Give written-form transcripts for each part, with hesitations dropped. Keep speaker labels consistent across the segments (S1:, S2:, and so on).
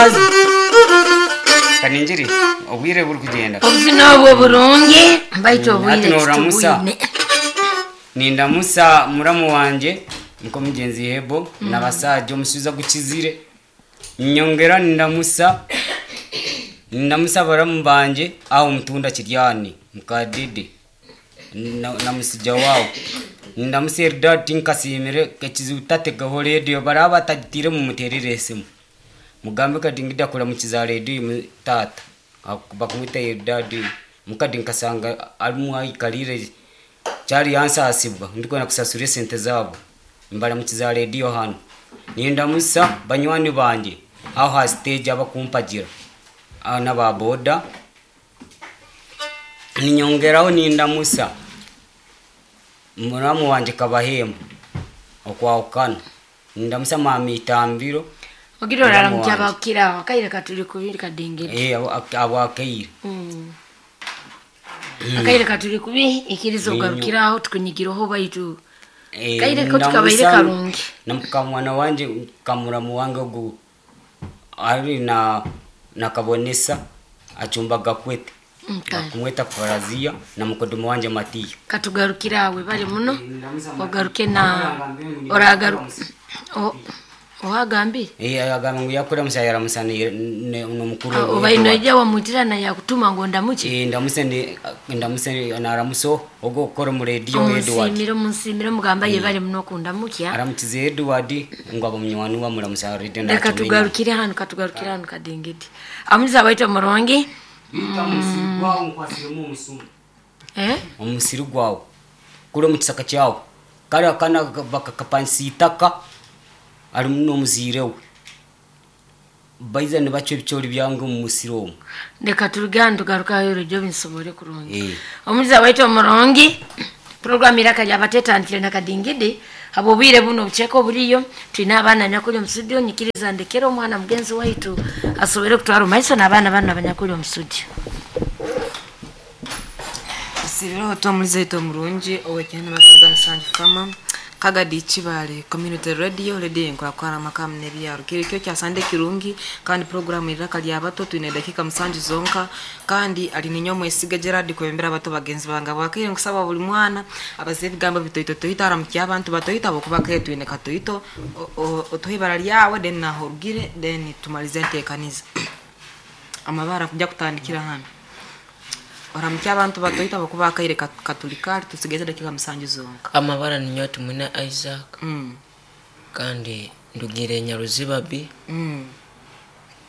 S1: Omukazi.
S2: Kaningiri obwire buri kugenda.
S3: Obuzina obwo burungi, baitu
S2: Hati
S3: obwire
S2: noramusa.
S3: titubwine.
S2: Nindamusa muramu wanje nkomugenzi Hebo nabasaja omusuza gukizire. Nyongera nindamusa baramu banje aho mutunda kiryani mukadede na musija wawo. Nindamusa Eldad tinkasimire ekizibu tategaho radio baraba batagitire mumuterere esimu. Mugambe kadi ngida kuramukiza radio tata. Bakumwita Eldad mukadi nkasanga alimu aikalire cyari yansasibwa ndiko nakusasura sente zabo. Mbaramukiza radio hano. Nindamusa banywani banje aho ha stage abakumpagira n'aba boda. Ninyongeraho nindamusa muramu wanje Kabahembo okwahukana. Nindamusa mami Itambiro.
S3: Ogira oraramukya bakira akaire katuli kubiri kadengere.
S2: Abo akaire.
S3: Akaire katuli kubi ikirizo garukiraho tukunyigiroho baitu. Kaire ko tukabaire karungi.
S2: Na mukamwana wanje kamuramu wange ogu ari na nakabonesa achumba gakwete. Kumweta Farazia na mukodomo wanje Matiya.
S3: Katugarukirawe bali muno. Ogaruke na oragaruka. Ohagambire?
S2: Agamba ngu yakora musayara musani n'omukuru.
S3: Obaino ija wamwitira na yakutuma ngo ndamuki.
S2: Ndamuse naramuso ogo okora mu radio Edward.
S3: Munsimire mugamba ye bali muno kundamukya.
S2: Aramukize Edward ngo abo munywani wa muramusa radio
S3: na. Katugarukire hano kadengedi. Amuza baita murongi.
S2: Bita omusiri gwawo nkwasiremu omusumu. Omusiri gwawo. Kule mu kisaka kyawo. Kale akana bakakapansi itaka. Ari muno muzirewe. Baiza ne bacho ebichori byange mu musiri omwo.
S3: Ndeka turugando garuka yo ryo binsobore kurungi. Omuza waito murongi. Program iraka yabateta ntile na kadingidi. Abo bwire buno bucheko buriyo twina abana nyakuli mu studio nyikiriza ndekero omwana mugenzi waitu asobere kutwara maiso n'abana bana abanyakuli mu studio.
S4: Sibiro tomulize to murungi owekene matunda musanju kama Kagadi Kibale Community Radio radio nkwakwana makamu nebyaro kirikyo kya Sande kirungi kandi program iraka lya bato twine dakika musanju zonka kandi ali ninyo mwesiga Gerard kwembera bato bagenzi banga bwakire nkusaba buli mwana abaze ebigambo bitoito toita aramukya abantu batoita bokuba kale twine katoito otohibara lyawe then nahorugire then tumalize entekaniza amabara kujya kutandikira hano oramukya abantu batoita bokuba kaire katulikali tusigeze dakika musanju zonka.
S5: Amabara ni nyote mwina Isaac. Kandi ndugire Nyaruziba B.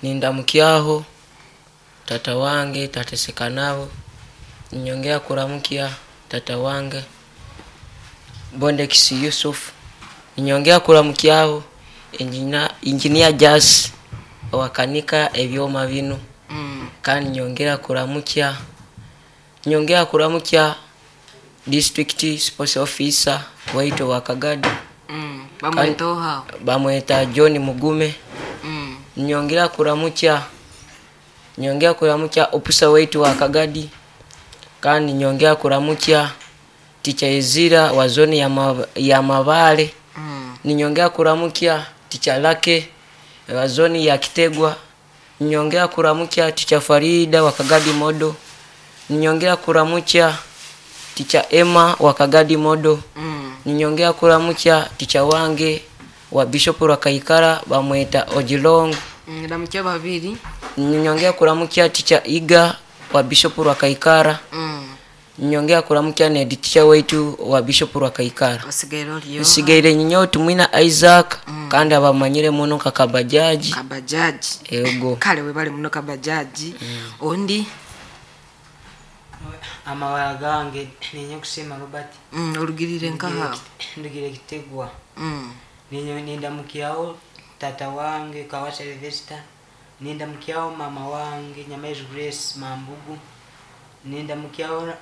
S5: Nindamukyaho tata wange tateseka nabo. Nyongea kuramukia tata wange Bondekisi Yusuf. Nyongea kuramukiaho engineer Jas wakanika ebyoma bino. Kandi nyongera kuramukia district sports officer waito wa Kagadi. Bamweta John Mugume. Nyongera kuramukia officer waito wa Kagadi. Kandi nyongera kuramukia teacher Ezira wa zone ya Mabale. Ninyongea kuramukia teacher Lake wa zone ya Kitegwa. Ninyongea kuramukia teacher Farida wa Kagadi Modo. Ninyongea kuramukia teacher Emma wa Kagadi Modo. Ninyongea kuramukia teacher wange wa Bishop Rwakaikara bamweta Ojilong.
S4: Ndamukia babiri.
S5: Ninyongea kuramukia teacher Iga wa Bishop Rwakaikara. Ninyongea kuramukia ne teacher wetu wa Bishop Rwakaikara. Nsigaire nyinyo tumwina Isaac. Kandi abamanyire muno kakabajaji.
S4: Kabajaji.
S5: Ego.
S4: Kale we bali muno kabajaji. Ondi
S1: amawala gange ninyo kusema Robert.
S4: Olugirire nkaha.
S1: Ndugire Kitegwa. Ninyo nindamukiao tata wange Kawasa Sylvester. Nindamukiao mama wange Nyamezi Grace Mambugu. Nindamukiao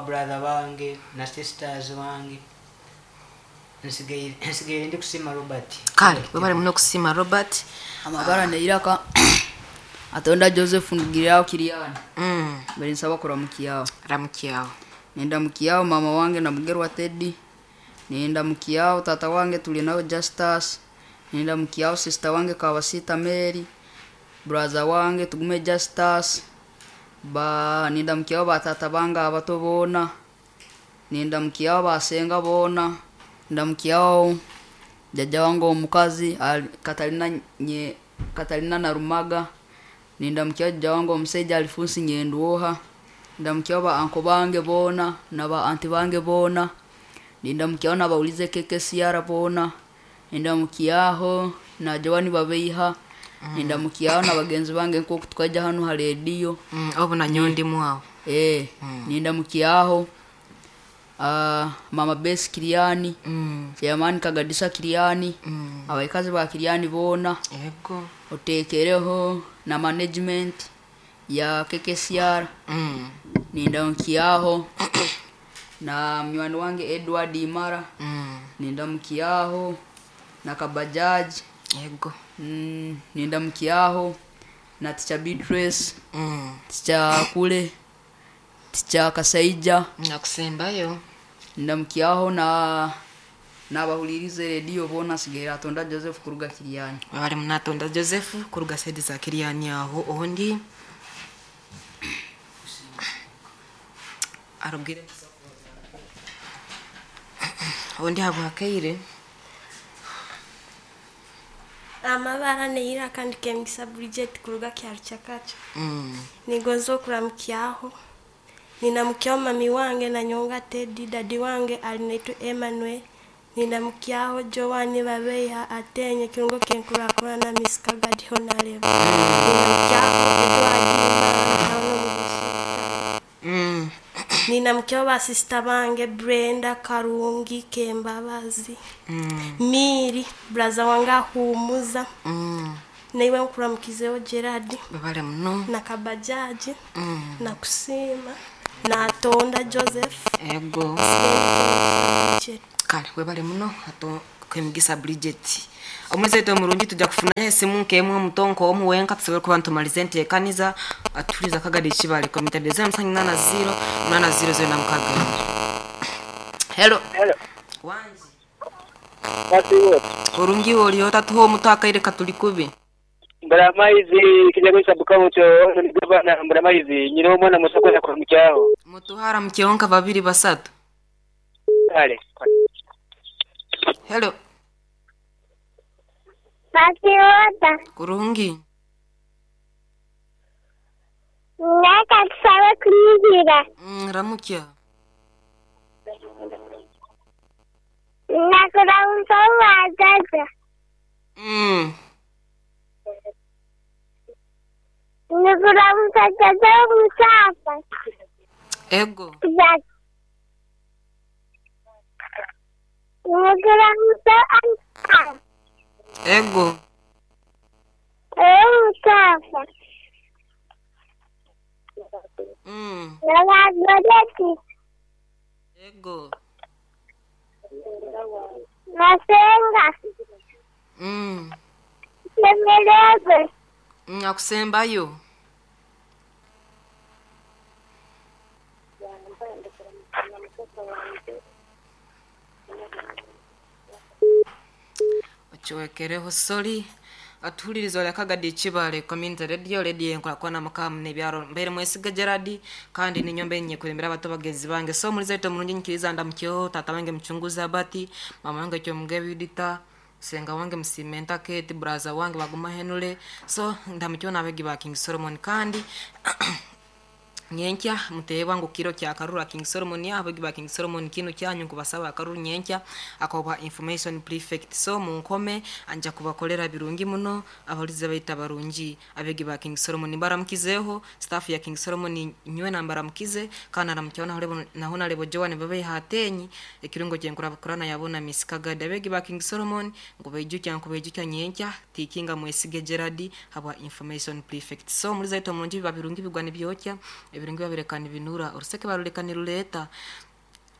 S1: brother wange na sisters wange. Nsigaire ndi kusima Robert.
S4: Kale we bali muno kusima Robert.
S6: Amabara neiraka Atonda Joseph ndugirao Kiriani. Bali nsaba kuramukiao.
S4: Ramukiao.
S6: Nenda mukiao mama wange na Mugerwa Teddy. Nenda mukiao tata wange tuli nao Justus. Nenda mukiao sister wange Kawasita Mary. Braza wange Tugume Justus, ba nindamukyaho batata bange abato boona, nindamukyaho basenga boona, ndamukyaho jjajja wange omukazi Katalina Narumaga, nindamukyaho jjajja wange omusaija Alifunsi Nyendwoha, ndamukyaho ba anko bange boona na ba anti bange boona, nindamukyaho nabawulize KKCR boona, nindamukyaho na Joani Babeiha, nindamukyaho na bagenzi bange nk'oku tukaija hanu ha rediyo.
S4: Obu nanyowe ndimu aho.
S6: Nindamukyaho Mama Besi Kiriani, Chairman Kagadisa Kiriani, abaikazi ba Kiriani boona.
S4: Ego.
S6: Otekereho na management ya KKCR. Nindamukyaho na munywani wange Edward Imara. Nindamukyaho na Kabajaji.
S4: Ego.
S6: Nindamukyaho na Teacher Beatrice, Teacher Kule, Teacher Kasaija.
S4: Nakusembayo.
S6: Ndamukyaho na nabahulirize rediyo boona. Sigaire Atonda Joseph kuruga Kiriani.
S4: Bali munatonda Joseph kuruga saidi za Kiriani aho. Ondi arugire ondi habwakaire.
S7: Amabara neira kandi kemgisa Bridget kuruga kyaro kyakacho. Nigonza okuramukyaho. Ninamukyaho mami wange na nyonga Teddy, dadi wange alinaitwa Emmanuel. Ninamukyaho Joani Babeiha atenye kirungo kenkurakura na Miss Kagadi Honareba. Ninamukyaho Edward Imara. Ninamukyaho ba sister bange Brenda Karungi Kembabazi. Miri braza wange ahumuza. Naiwe nkuramukizeho Gerard.
S4: Babale muno.
S7: Na Kabajaji. Na Kusima. Na Tonda Joseph.
S4: Ego. Kale webale muno ato kwemugisa Bridget. Omwezi omurungi tujja kufuna esimu nkemwe omutonko omu wenka tusobole kuba ntumalize enteekaniza atuliza Kagadi Kibale komite de 080 800 06. Hello.
S8: Hello.
S4: Wanji.
S8: Wasiwo.
S4: Kurungi oli otatuho omutu akaire katuli kubi.
S8: Mbaramaizi kijago sabuka mucho ni gavana Mbaramaizi nyina omwana musokoza kwa mukyaho.
S4: Mutuhara mukionka babiri basatu.
S8: Kale.
S4: Hello.
S9: Pasiwota.
S4: Kurungi.
S9: Naka tusabe kunyigira.
S4: Ramukya.
S9: Nakuramusa wazaza. Nakuramusa jaja musafa.
S4: Ego.
S9: Nakuramusa anta.
S4: Ego.
S9: Musafa. Nagagoreti.
S4: Ego.
S9: Masenga. Semerebe.
S4: Akusembayo. Ochowekereho sori atuhuliriza olya Kagadi Kibale Community Radio, radio enkulakwana makamu n'ebyaro mbeire mwesiga Gerard kandi ninyombe nyekurembera abato bagenzi bange. So muliza ito mulungi nkiriza ndamukyeho tata wange mchunguzi Abati, mama wange Kyomugebi Yudita, senga wange Msimenta Kate, braza wange Baguma Henule. So ndamukyeho n'abegi ba King Solomon kandi nyenkya mutebwa ngu kiro kya karura King Solomon abegi ba King Solomon kino kyanyu kubasaba akaruru nyenkya akoba information prefect. So munkome anja kubakolera birungi muno abalize baita barungi abegi ba King Solomon baramukizeho staff ya King Solomon nywe nambara mukize kana namukyona holebo nahona lebo Joan babe hatenyi ekirungo kyenkura bakorana yabona Miss Kagadi abegi ba King Solomon ngo bejukya ngo bejukya nyenkya tikinga mwesige Gerard habwa information prefect. So muliza ito mulungi babirungi bigwa nibyokya ebirungi babirekana binura oruseke barulekana ruleta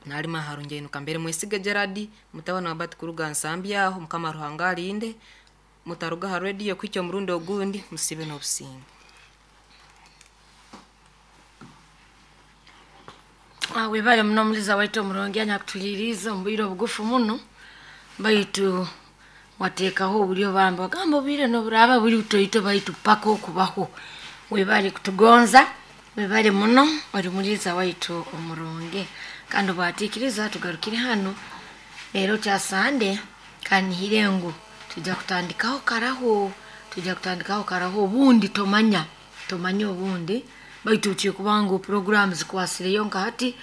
S4: nalima harunje inuka mbere mwesige Gerard mutabana wabati kuruga nsambi aho mukama Ruhanga alinde mutaruga ha radio kwicyo murundo ogundi musibe n'obusinge.
S3: Webale muno muliza waitu omurungi anyakutuliriza omu bwire obugufu muno baitu Wateekaho obulyo bambi wagamba obwire noburaba buli butoito baitu paka okubaho. Webale kutugonza, webale muno, oli muliiza waitu omurungi. Kandi obwatiikiriza tugarukire hanu leero kya Sande, kandi nihire ngu tujja kutandikaho karaho, tujja kutandikaho karaho obundi tomanya, tomanya obundi baitu kikuba ngu puroguramu zikwasireyo nka hati,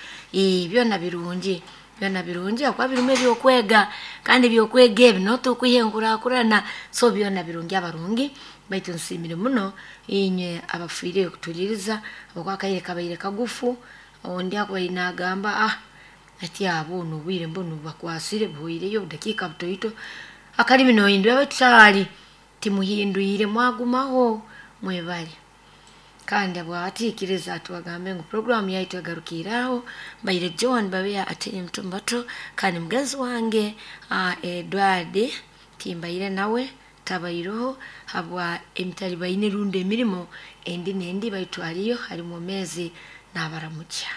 S3: byona birungi, byona birungi habwokuba birimu ebyokwega, kandi ebyokwega ebi notukwiha enkurakurana, so byona birungi abarungi, baitu nsiimire muno inywe abafiireyo kutuliiriza, habwokuba akaire kabaire kagufu, ondi akubaire nagamba ati abo obwire mbunu bubakwasire buhoireyo obudakiika butoito, akalimi nohindura baitu caali timuhindwire mwagumaho mwebale. Kandi abwatiikiriza tubagambe ngu puroguramu yaitu egarukiire aho, mbaire Joan Babeya Atini Mutumbato, kandi mugenzi wange Edward timbaire nawe tabaireho habwa emitalibaine rundi emirimo endi n'endi, baitu aliyo ali mwomeezi n'abaramukya.